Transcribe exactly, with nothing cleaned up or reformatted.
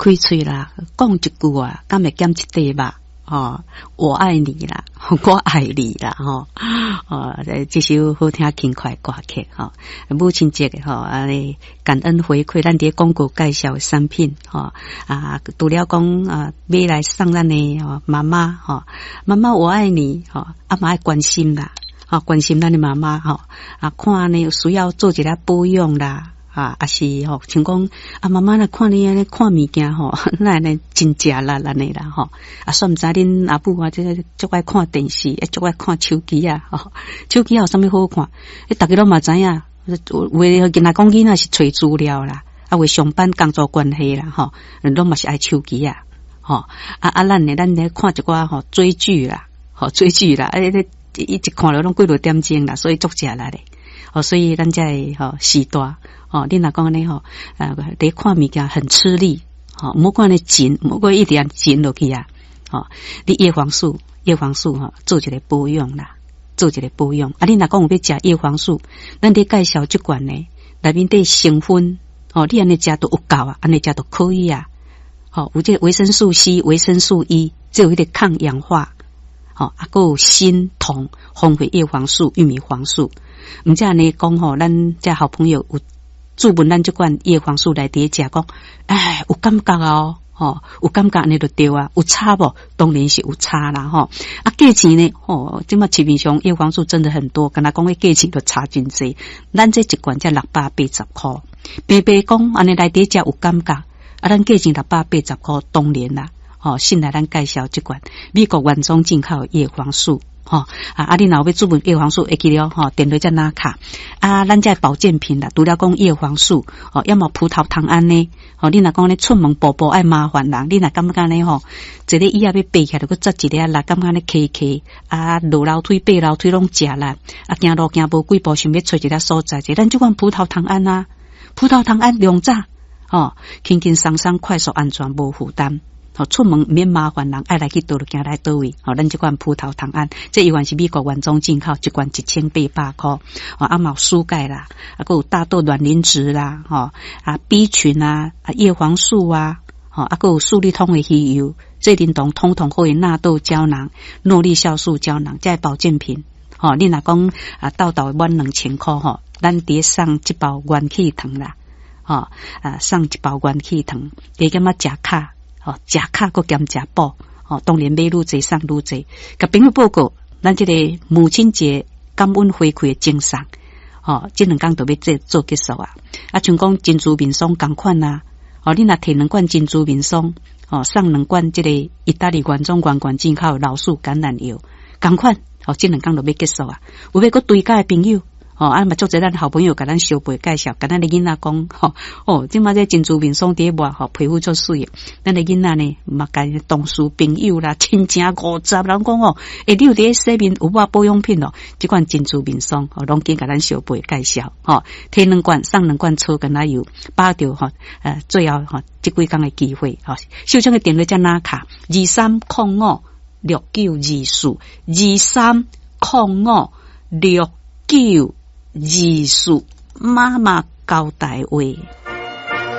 開喙啦，講一句啊，敢會減一塊肉？吼，我愛你啦，我愛你啦，吼，哦，這首好聽輕快歌曲，吼，母親節吼，按呢感恩回饋，咱佇廣告介紹的產品，吼，啊，除了講啊，買來送咱的吼媽媽，吼，媽媽我愛你，吼，啊嘛愛關心啦，吼，關心咱的媽媽，吼，啊，看呢有需要做一下保養啦。啊，抑是吼，像講啊，媽媽若看你按呢看物件吼，哪按呢真食力按呢啦吼。啊，煞毋知恁阿母啊，這個足愛看電視，足愛看手機啊，吼，手機有啥物好看？欸，逐家攏嘛知影，有的囡仔講囡仔是揣資料啦，啊，有上班工作關係啦，吼，攏嘛是愛手機啊，吼，啊啊，咱呢，咱咧看一寡吼追劇啦，吼追劇啦，啊，咧一直看了攏幾落點鐘啦，所以足食力的。哦，所以咱這个吼時代。哦，你若講按呢吼，呃，佇看物件很吃力，吼，毋好看呢緊，毋好一點緊落去啊，吼，你葉黃素，葉黃素吼，做一個保養啦，做一個保養。啊，你若講有欲食葉黃素，咱佇介紹這罐呢，內面底成分，吼，你按呢食都有夠啊，按呢食都可以啊，吼，有這個維生素 C、維生素 E，這有彼個抗氧化，吼，啊，閣有鋅、銅、豐富葉黃素、玉米黃素。毋才按呢講吼，咱這好朋友有。注問咱這罐葉黃素來佇食，講，哎，有感覺哦，吼，有感覺按呢就對啊，有差無？當然是有差啦，吼。啊，價錢呢？吼，這馬市面上葉黃素真的很多，敢若講彼價錢都差真濟。咱這一罐才六百八十箍，平平講按呢來佇食有感覺，啊，咱價錢六百八十箍，當然啦，吼，信賴咱介紹這罐美國原裝進口葉黃素。吼啊！啊，你若有欲注問葉黃素，會記得吼，電話才拿卡啊。咱這保健品啦，除了講葉黃素，吼，抑嘛葡萄糖胺呢？吼，你若講咧出門步步愛麻煩人，你若感覺呢吼，坐咧椅仔欲爬起來，閣扎一下力，感覺咧磕磕啊，落樓梯爬樓梯攏食力，啊，行路行無幾步，想欲揣一个所在者，咱這款葡萄糖胺啊，葡萄糖胺兩早，吼，輕輕鬆鬆、快速、安全、無負擔。吼，出門免麻煩人，愛來去佗就行來佗位。吼，咱這款葡萄糖胺，這猶原是美國原裝進口，一罐一千八百箍。吼，啊嘛有蘇鈣啦，啊，閣有大豆卵磷脂啦，吼，啊 B 群啊，啊葉黃素啊，吼，啊閣有素力通的魚油，這叮當通通可以納豆膠囊、諾麗酵素膠囊，這保健品。吼，你若講啊，沓沓滿兩千箍吼，咱佇送一包元氣糖啦，吼，啊送一包元氣糖，加減仔食卡。吼，食卡閣兼食補，吼，當然買愈濟送愈濟。共朋友報告，咱這個母親節感恩回饋的贈送，吼，這兩工就欲做做結束啊。啊，像講珍珠面霜仝款啊，吼，你若提兩罐珍珠面霜，吼，送兩罐這個意大利原裝原罐進口老樹橄欖油，仝款，吼，這兩工就欲結束啊。有欲閣追加的朋友。吼，啊嘛足濟咱好朋友共咱相背介紹，共咱的囡仔講，吼，哦，這馬這珍珠面霜佇咧抹，吼，皮膚足媠的。咱的囡仔呢，嘛共同事朋友啦、親情五十人講哦，欸，你有佇咧洗面有抹保養品哦，這款珍珠面霜，吼，攏緊共咱相背介紹，吼，提兩罐送兩罐草橄欖油，把著吼，呃，最後吼，這幾工的機會，吼，受獎的電話才拿卡，二三空五六九二四，二三空五六九。二四媽媽交代話。